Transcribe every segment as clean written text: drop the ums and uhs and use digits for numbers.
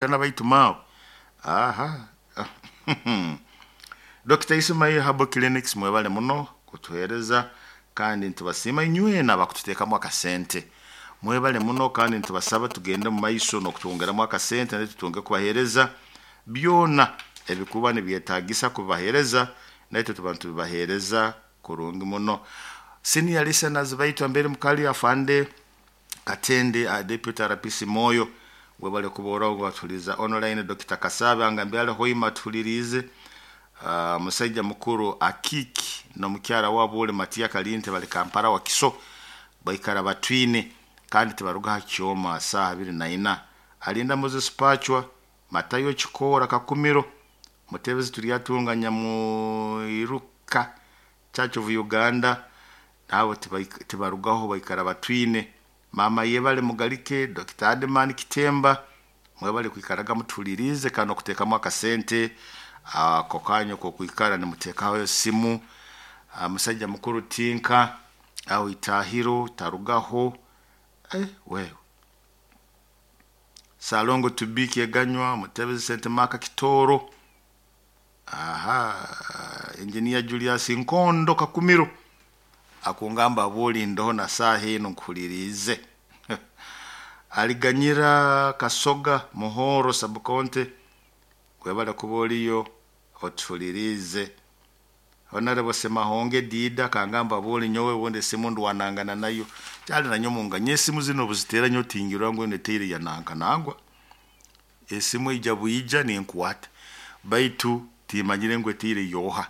Baitu maawe aha. Dr. Ismail Herbal Clinics, mwebale muno kutuheereza kandi nitubasiima inywena abakututeekamu akasente. Mwebale muno kandi nitubasaba tugende mu maiso n'okutwongeramu akasente naitwe tutunge kubaheereza byona ebikuba nibyetaagisa kubaheereza, naitwe tuba nitubibaheereza kurungi muno. Senior listeners baitu ambere mukali afande Katende a Deputy RPC Moyo, webale kuba batuliza online. Dr. Kasabe angambye ali hoima atulirize. Musaija mukuru Akiki n'omukyara wabo uli Matia Kalinte bali Kampala Wakiso, baikara batwine kandi tibaruga ha kyoma saaha 24. Alinda Moses Pachwa, Matayo Chikora Kakumiro, Mutebezi Turyatunga Nyamuiruka Church of Uganda, nabo tibarugaho baikara batwine. Mama yebale Mugalike, Dr. Adman Kitemba, mwebale kwikaraga mutulirize kandi okuteekamu akasente ako kanyu kokwikara nimuteekaho esimu. Musajja mukuru Tinka aho Itahiro tarugaho, wewe Salongo Tubiki Eganywa, Mutebezi Sente Maka Kitoro, aha Engineer Julius Nkondo Kakumiro akungamba aboli ndoho na saha eno nkuhulirize. Aliganyira Kasoga Muhoro Sabukonte, webale kuba oliyo otulirize. Honorable Semahonge Dida kangamba aboli nyowe bundi esimu ndwanangana nayo kyali nanyo munganye esimu zino buzitera nyo tingirwa ngu neteire yananka nangwa esimu ija bwija ninkwata baitu timanyire ngu eteire yoha,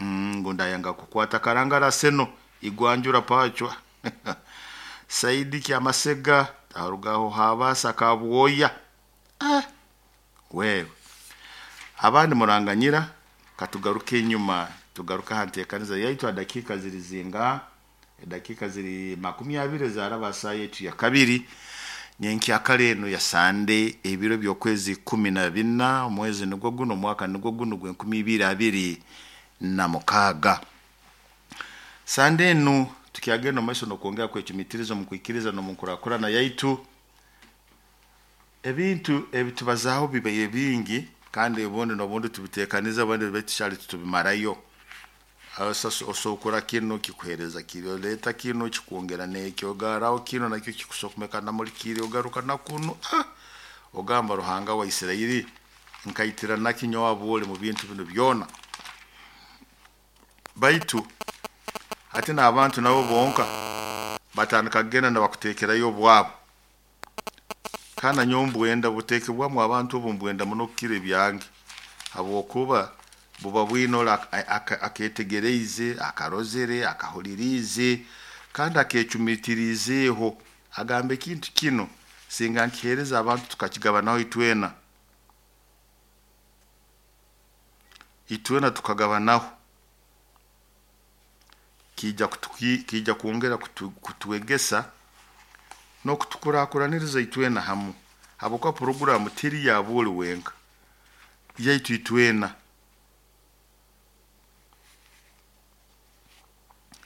ngu ndayanga kukwata karangara seno igwanjura pachwa. Saidi Kyamasega arugaho habasa kabwoya. Wewe abandi muranganyira, katugaruke enyuma, tugaruke aha nteekaniza yaitu. Dakika ziri zinga? Edakika ziri 20 zaraba saa yetu ya kabiri nyenkyakara eno ya Sande, ebiro by'okwezi 14, omwezi nigwo guno, omwaka nigwo guno gw'enkumi ibiri abiri na mukaaga. Sande enu tukyagenda omu maiso n'okwongera kwecumitiriza omu kwikiriza n'omu nkurakurana yaitu. Ebintu ebitubazaaho bibaire bingi kandi obundi n'obundi tubiteekaniza, obundi baitu tukyali tutubimarayo. Osokora kinu kikuheereza kiri, oleeta kinu kikwongera n'ekyo, ogarraho kinu nakyo kikusomeka namuli kiri, ogaruka na kunu, ogamba Ruhanga wa Isirairi nkaitira naki nyowe aboli mu bintu binu byona. Baitu hati n'abantu nabo bonka batandika kugenda nibakuteekerayo obwabo, kandi nanyowe mbwenda buteekebwamu abantu obu mbwenda muno kukira ebyange, habwokuba buba bwine oli aketegereize, akarozere, akahuliriize kandi akecumitiriizeeho, agamba ekintu kinu singa nkiheereza abantu tukakigabanaho itwena, itwena tukagabanaho kiija kwongera kutwegesa n'okutukurakuraniriza itwena hamu, habwokuba puroguramu teri ya buli wenka, yaitu itwena.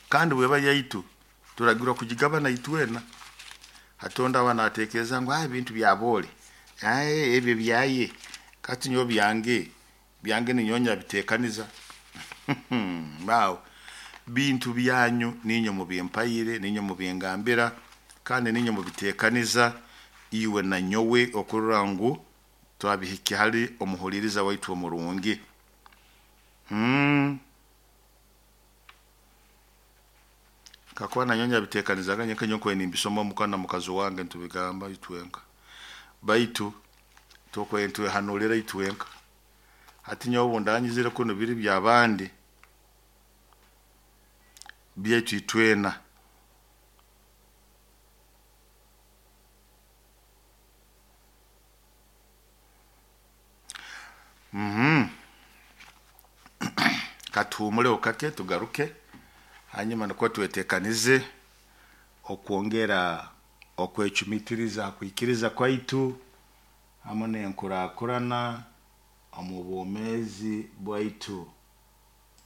Kandi bweba yaitu turagirwa kugigabana itwena. Hatonda aba natekereza ngu ebintu bya bole, ebyo byaye, kati nyowe byange, byange ninyowe nyabitekaniza. Maawe bintu byanyu ninyo mubimpaire, ninyo mubingambira kandi ninyo mubitekaniza iwe na nyowe okurora ngu twabihikya hali omuhuliriza waitu omurungi. Kakuba nanyowe nyabitekanizaga nyenka nyowe nimbisoma muka na mukazi wange ntubigamba itwenka, baitu tukwe ntwehanulira itwenka. Hati nyowe obundanyizire kunu biri byabandi byaitu itwena. Katuhumuleho kake tugaruke hanyuma nukwo twetekanize okwongera okwecumitiriza kwikiriza kwaitu hamu n'enkurakurana omu bwomeezi bwaitu.